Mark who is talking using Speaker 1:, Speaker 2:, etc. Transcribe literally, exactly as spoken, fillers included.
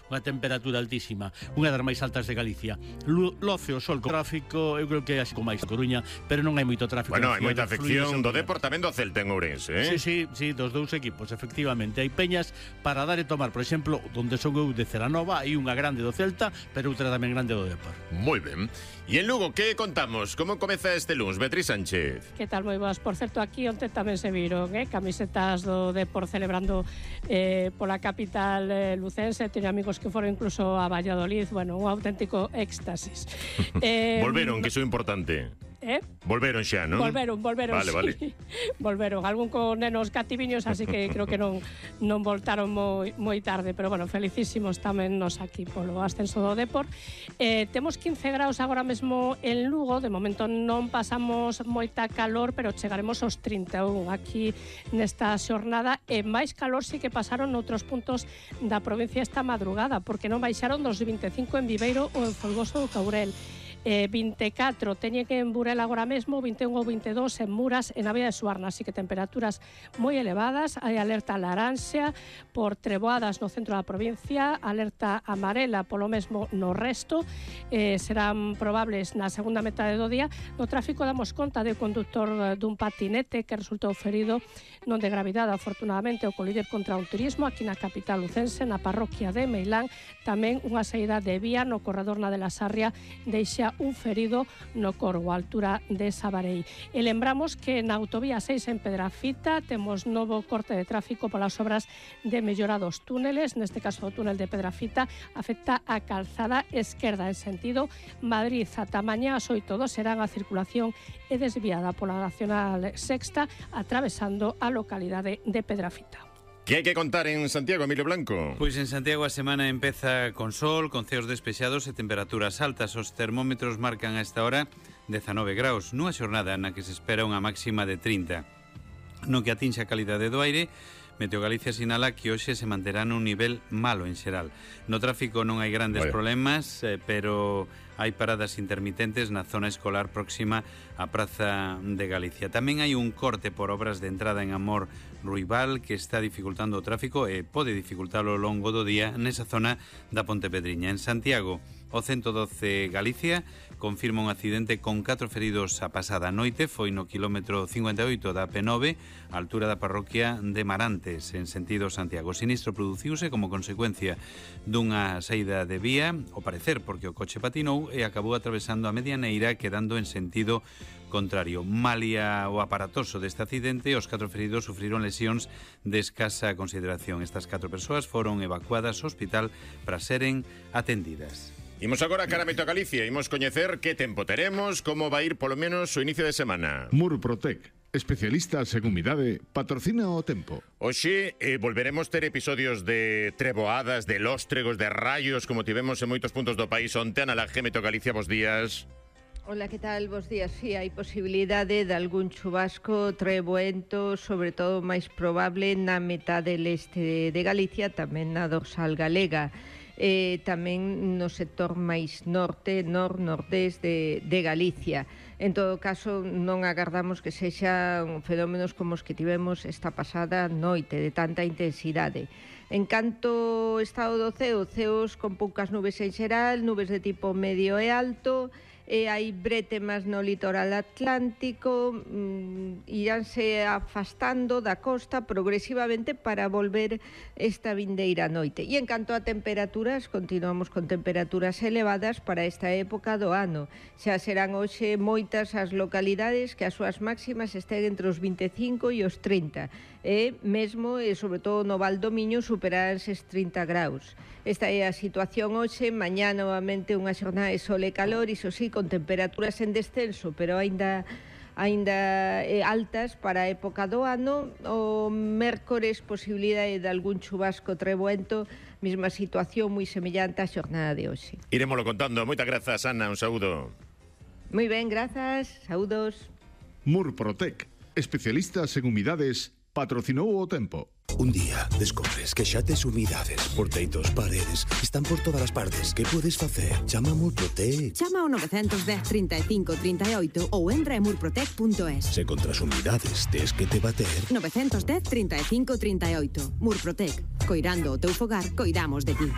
Speaker 1: unha temperatura altísima, unha das máis altas de Galicia. Loce o sol co tráfico, eu creo que é así como máis Coruña, pero non hai moito tráfico.
Speaker 2: Bueno, hai moita afección do Depor, tamén do Celta en Ourense, eh?
Speaker 1: Sí, sí, sí, dos dous equipos, efectivamente. Hai peñas para dar e tomar, por exemplo, onde son eu de Ceranova, hai unha grande do Celta, pero outra tamén grande do Depor.
Speaker 2: Moi ben. E en Lugo, que contamos? Como comeza este luns, Beatriz Sánchez?
Speaker 3: Que tal, moi boas. Por certo, aquí onte tamén se viron eh, camisetas do Depor celebrando eh, pola capital eh, lucense. Teño amigos que foron incluso a Valladolid. Bueno, un auténtico éxtasis. eh,
Speaker 2: Volveron, que iso é importante.
Speaker 3: Eh?
Speaker 2: Volveron xa, non?
Speaker 3: Volveron, volveron,
Speaker 2: vale,
Speaker 3: sí.
Speaker 2: Vale.
Speaker 3: Volveron, algún con nenos cativiños, así que creo que non non voltaron moi moi tarde, pero bueno, felicísimos tamén nos aquí polo ascenso do Depor. Eh, temos quince graus agora mesmo en Lugo, de momento non pasamos moita calor, pero chegaremos aos trinta e un aquí nesta xornada, e máis calor sí que pasaron noutros puntos da provincia esta madrugada, porque non baixaron dos vinte e cinco en Viveiro ou en Folgoso do Caurel. Eh, vinte e catro teñe que en Burela agora mesmo, vinte e un ou vinte e dous en Muras e na Vía de Suarna, así que temperaturas moi elevadas. Hai alerta laranxa por treboadas no centro da provincia, alerta amarela polo mesmo no resto, eh, serán probables na segunda metade do día. No tráfico damos conta de conductor dun patinete que resultou ferido, non de gravidade afortunadamente, o colider contra un turismo aquí na capital lucense, na parroquia de Meilán. Tamén unha saída de vía no corredor na de la Sarria deixa un ferido no Corgo, a altura de Sabarei. E lembramos que na autovía seis en Pedrafita temos novo corte de tráfico polas obras de mellora dos túneles, neste caso o túnel de Pedrafita afecta a calzada esquerda en sentido Madrid. Ata mañá ás oito do serán a circulación é desviada pola Nacional Sexta atravesando a localidade de Pedrafita.
Speaker 2: Que hai que contar en Santiago, Emilio Blanco?
Speaker 4: Pois en Santiago a semana empeza con sol, con ceos despexados e temperaturas altas. Os termómetros marcan a esta hora dezanove graus, nunha xornada na que se espera unha máxima de trinta. No que atinxe a calidade do aire, Meteo Galicia sinala que hoxe se manterá nun nivel malo en xeral. No tráfico non hai grandes
Speaker 2: Vale.
Speaker 4: problemas, eh, pero hai paradas intermitentes na zona escolar próxima á Praza de Galicia. Tamén hai un corte por obras de entrada en Amor Ruibal que está dificultando o tráfico e pode dificultalo ao longo do día nesa zona da Pontepedriña. En Santiago, o ciento doce Galicia confirma un accidente con catro feridos a pasada noite. Foi no quilómetro cincuenta e oito da P nove, a altura da parroquia de Marantes, en sentido Santiago. O sinistro produciuse como consecuencia dunha saída de vía, ao parecer porque o coche patinou e acabou atravesando a medianeira quedando en sentido contrario. Malia o aparatoso deste accidente, os catro feridos sufriron lesións de escasa consideración. Estas catro persoas foron evacuadas ao hospital para seren atendidas.
Speaker 2: Imos agora cara a Meteo Galicia, imos coñecer que tempo teremos, como vai ir polo menos o inicio de semana.
Speaker 5: Murprotec, especialistas en humidade, patrocina o tempo.
Speaker 2: Hoxe eh, volveremos ter episodios de treboadas, de lóstregos, de rayos, como tivemos en moitos puntos do país onte. Ana Laje, Meteo Galicia, bos días.
Speaker 6: Hola, que tal? Bos días. Sí, hai posibilidade de algún chubasco treboento, sobre todo máis probable na metade leste de Galicia, tamén na dorsal galega. Eh, tamén no sector máis norte, nor-nordés de, de Galicia. En todo caso, non agardamos que sexan fenómenos como os que tivemos esta pasada noite, de tanta intensidade. En canto estado do ceo, ceos con poucas nubes en xeral, nubes de tipo medio e alto, e hai bretemas no litoral atlántico, mm, iránse afastando da costa progresivamente para volver esta vindeira noite. E en canto a temperaturas, continuamos con temperaturas elevadas para esta época do ano. Xa serán hoxe moitas as localidades que as súas máximas estén entre os vinte e cinco e os trinta, e mesmo, e sobre todo no Val do Miño, superarán estes trinta graus. Esta é a situación hoxe. Mañá novamente unha xornada de sol e calor, iso sí, con temperaturas en descenso, pero aínda aínda eh, altas para a época do ano. O mércores, posibilidade de algún chubasco treboento, mesma situación moi semellante á xornada de hoxe.
Speaker 2: Iremoslo contando. Moitas grazas, Ana, un saúdo.
Speaker 6: Moi ben, grazas, saúdos.
Speaker 5: Murprotec, especialistas en humidades, patrocinou o tempo.
Speaker 7: Un día descobres que xa tes humidades por teitos, paredes, están por todas as partes. Que podes facer? Chama a Murprotec.
Speaker 8: Chama ao nove un cero, trinta e cinco, trinta e oito ou entra en murprotec punto es.
Speaker 7: Se contra as humidades tes que te bater.
Speaker 8: nove un cero, trinta e cinco, trinta e oito. Murprotec. Coirando o teu fogar, coidamos de ti.